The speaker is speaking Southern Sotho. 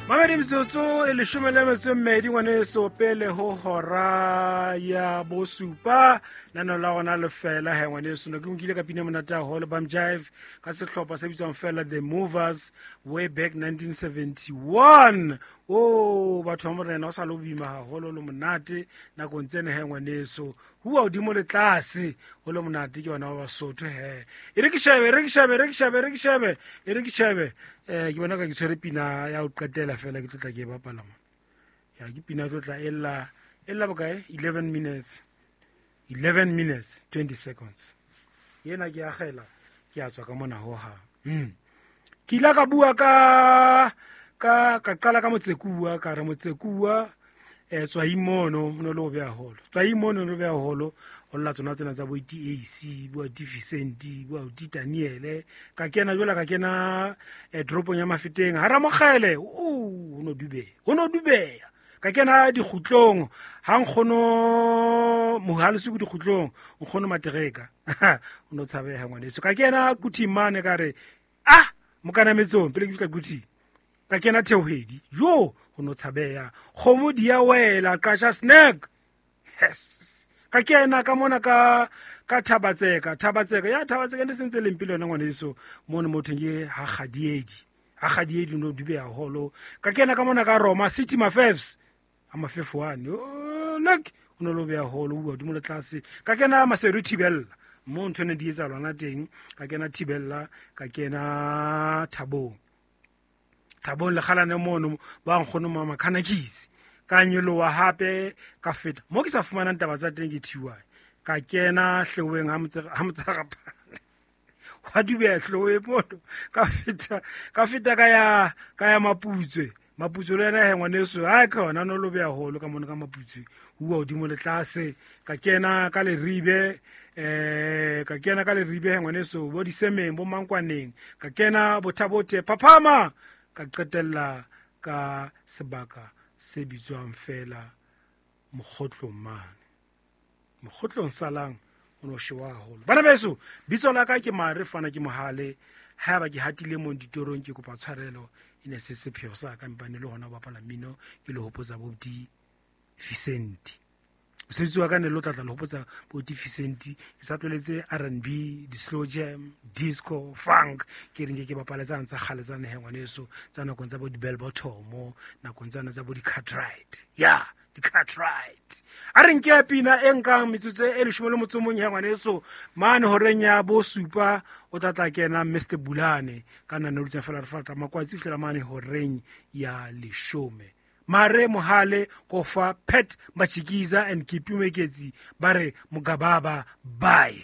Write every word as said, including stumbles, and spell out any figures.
Mamedi metsotso e leshome le metso e mmedi ngwaneso pele ho hora ya bosupa nano la rona lefela he ngwaneso ne ke nkile ka pina monate haholo Bam Jive ka sehlopha se bitswang fela The Movers way back nineteen seventy-one. O batho ba morena o sa lo boima haholo le monate nakong tsena he ngwaneso hua hodimo le tlase ho le monate ke bana ba Basotho he. E re ke shebe, e re ke shebe, e re ke shebe, e re ke shebe, e re ke shebe. Eh ke bona ka ke tshwere pina ya ho qetela fela ke tlotla ke e bapala mona. Ya ke pina tlotla e lla, e lla bokae? eleven minutes. eleven minutes twenty seconds. Yena ke akgela ke a tswa ka mona ho ha. Mm. Ke ile ka bua ka ka ka qala ka Motsekuwa, ka re Motsekuwa eh Tswaimono no le ho beha holo. Tswaimono no beha holo ho lla tsona tsena tsa bo T A C, bo Deficient, bo Daniele. Ka kena jwala ka kena eh dropong ya Mafeteng. Ha Ramokgele, o no dube. O no dubeya. Ka kena dikgutlong, ha nkgono Mohalesuku dikgutlong, nkgono Matereka. O no tshabeha ngwaneso. Ka kena Kuthimane ka re ah mokanametsong pele ke fihla Kuthi. Ka kena Theohedi. Jo, o no tshabeha. Kgomo di ya wela qasha snack. Yes. Ka kena ka mona ka ka Thabatseka, Thabatseka ya Thabatseka ne sentse le mpilo yona ngwaneso mono motho ke ha Kgadiedi. Ha Kgadiedi no dube haholo. Ka kena ka mona ka Roma City Mafefs. A Mafefo one. Oh, look, o no lo beha haholo o hodimo le tlase. Ka kena Maseru Thibella. Mo ntho ne di etsa lona teng. Ka kena Thibella, ka kena Thabong. Thabong le kgalane mono ba nkgono mama Khanakisi. Ka nyoloha hape ka feta mo ke sa fumanang taba tsa teng ke T Y. Ka kena Hleweng ha motse ha Motsarapane. Wa dubeha Hleweng mono. Ka feta ka feta ka ya ka ya Maputswe. Maputswe le yena he ngwaneso ha ka hona no lo beha haholo ka mono ka Maputswe. Hua hodimo le tlase. Ka kena ka Leribe, eh ka kena ka Leribe he ngwaneso bo Disemeng bo Mankwaneng. Ka kena Bothabote Phaphama. Ka qetella ka sebaka se bitswang fela Mokgotlong mane. Mokgotlong salang o no shewa haholo. Bana beso, bitso la ka ke Mare Fana ke Mohale. Haeba ke hatile mong ditorong ke kopa tshwarelo, e ne se sepheo sa ka mpane le hona ho bapala mmino ke le hopotsa bo di Vicente. Mosebetsi wa ka ne le o tlatla le hopotsa bo di Vicente. Ke sa tlweletse R and B, di-slow jam, disco, funk. Ke reng ke ke bapale tsane tsa kgale tsane he ngwaneso, tsa nakong tsa bo di-bell bottom, nakong tsane tsa bo di-Cartwright. Ya, di-Cartwright. A re nke pina e nkang metsotso e leshome le motso o mong he ngwaneso, mane horeng ya bo supa o tla tla kena Mister Bulane ka nna ne fela re fata makwatsi fihlela mane horeng ya leshome. Mare Mohale Kofa Pet Machikiza and Kipi Meketsi ba re Mugababa bye.